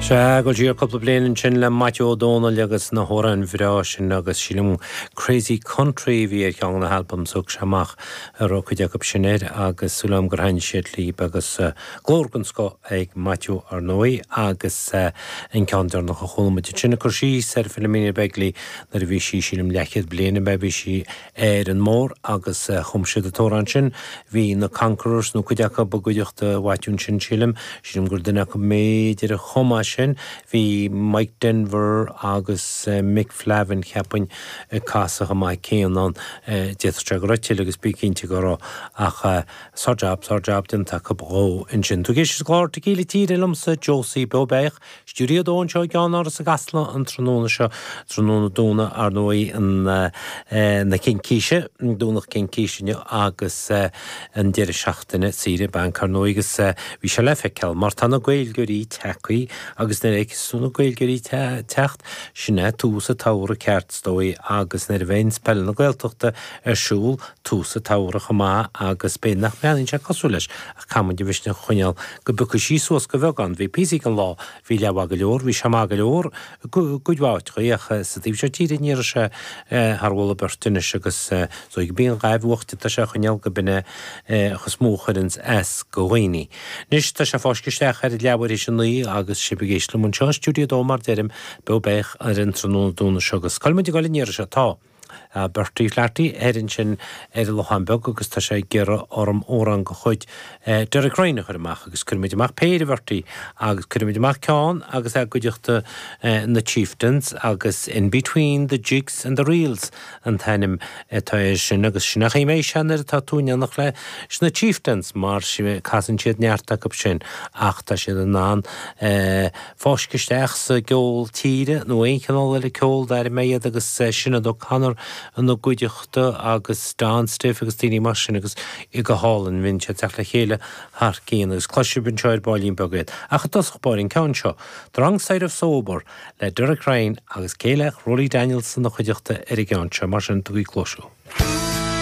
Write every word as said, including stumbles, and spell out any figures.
Sea, ag dul siar cúpla bliain ansin le Maitiú Ó Dónaill agus na hamhráin bhreá sin agus sílim Crazy Country a bhí ar cheann de na halbaim a thug sé amach a raibh cuid acu sin air agus súil agam gur thaitin siad libh agus glór den scoth ag Maitiú ar ndóigh agus an ceann deireanach a chuala muid ansin ag cur síos ar Philomena Begley nuair a bhí sí sílim leathchéad bliain a bhí sí ar an mbóthar agus chum siad an t-amhrán sin bhí na Conquerors nó cuid acu i gcuideachta Mhaitiú ansin sílim sílim gur duine acu b'fhéidir a chum é sin bhí Mike Denver agus Mick Flavin cheapfainn ag casadh amach céanna ann d'fhéadfadh sé go raibh tuilleadh agus bí cinnte go raibh ach sár-jab sár-jab déanta acu dhó ansin. Tú ag éisteacht leis an gclár Tequila Tíre liomsa Josie Beo Beach, Stiúideo a dó anseo i gceannáras i gCasla an tráthnóna seo tráthnóna Domhnaigh ar ndóigh an na Cincíse Domhnach Cincíse inniu agus an deireadh seachtaine saoire bainc ar ndóigh agus bhí sé le feiceáil mar tá na Gaeilgeoirí tagtha agus nuair a fheiceas tú na Gaeilgeoirí teacht sin é tús an tsamhraidh ceart is dóigh agus nuair a bheidh peil na Gaeltachta ar siúl tús an tsamhraidh chomh maith agus b'fhéidir nach mbreathnaíonn sé cosúil leis ach caithfidh muid an mhisneach a choinneáil go bpiocfaidh sí suas go bheagán. Bhí píosaí den lá bhí leath go leor, bhí sé maith go leor cuid mhaith ach sa taobh seo tíre ní raibh sé thar mholadh beirte anois agus so go bíonn ghaibh uachta tá sé a choinneáil go binne chos mó chuireanns as go dhaoine. Anois tá sé fáiscthe isteach ar leathuair théis a naoi agus sibh ag éisteacht liom anseo stiúideo a dó mar deirim beo beach ar an tráthnóna Domhnaigh seo agus cá bhfuil muid ag dul an iarraidh seo tá. Bertie Flaherty ar ansin ar an Lochán Beag agus tá sé ag iarraidh orm amhrán de chuid Derek Ryan a chur amach agus cuirfimid amach péire Bertie agus cuirfimid amach ceann agus é i gcuideachta na Chieftains agus In Between the Jigs and the Reels an t-ainm atá air sin agus sin a mé se nuair atá tú in éineacht leis na Chieftains mar casann siad neart acu sin ach tá siad in ann fáisceadh isteach sa gceol tíre nó aon chineál eile ceol dar mé iad agus Sinéad O'Connor ina gcuideachta agus Don Stiff agus daoine mar sin agus i go hálainn bhíonn siad teacht le chéile thar cinn agus cloisfidh anseo ar baillín beag iad. Ach i dtosach báire an ceann seo, The Wrong Side of Sober le Derek Ryan agus cé eile ach Rolly Daniels ina chuideachta ar an gceann seo mar sin tugaigí cluas.